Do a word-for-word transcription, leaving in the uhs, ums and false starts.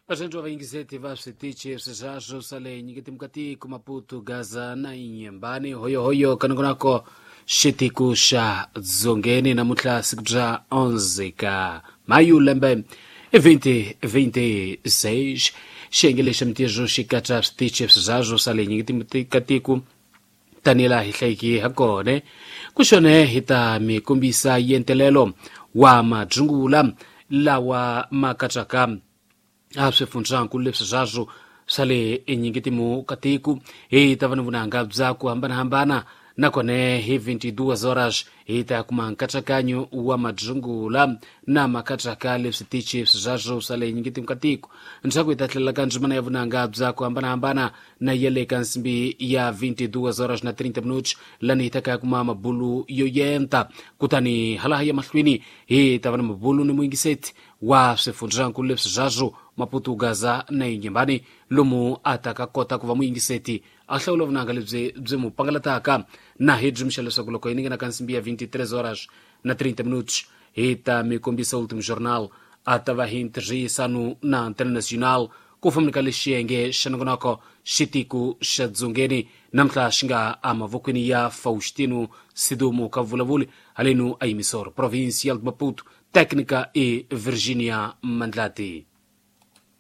Vaxandri va yingiseti va switichi swiswaswo swa le nyiketimukatiko Maputo, Gaza na Inhambane, hoyohoyo kanongonako xitiku xa dzongeni. Namuntlha siku bya onze ka mayu lembe twenty twenty-six. Xiyenge lexi mintirho xi katsa switichi swiswaswo swa le nyiketimukatiko tanihi laha hi hlayiki ha kona. Ku xone hi ta mi kombisa yentelelo wa madzungula lawa ma katsaka a swifundzankulu leswi swaswo swa le enyingitimu ka tiko. Hi ta va ni vunanga bya ku hambanahambana, nakona hi twenty-two horas hi ta kuma nkatsakanyo wa madzungula na makatsaka leswi tichi swaswo swa le nyingitimu ka tiko. Ndzhaku hi ta tlhelela ka ndzimana ya vunanga bya ku hambanahambana na ya le ka nsimbi ya twenty-two horas na thirty minutos, lani hi ta ka kuma mabulu yo yenta. Kutani halaha ya mahlweni hi ta va na mabulu ni muyingiseti wa swifundzankulu leswi swaswo Maputo, Gaza na Inhambane, lomu a ta ka kota ku va muyingiseti a hlawula vunanga lebyi byi mu pangalataka. Na hi byi leswaku loko hi ningena ka nsimbi ya twenty-three horas na thirty minutos hi ta mi kombisa Ultimo Jornal, a ta va hi ntirhisano na Antena Nacional ku fambeni ka lexiyenge xa nongonoko xitiku xa dzongeni namuntlha xi nga emavokweni ya Faustino Sidumo ka vulavuli halenu a yimisoro Provincial de Maputo, técnica e Virginia Mandlati.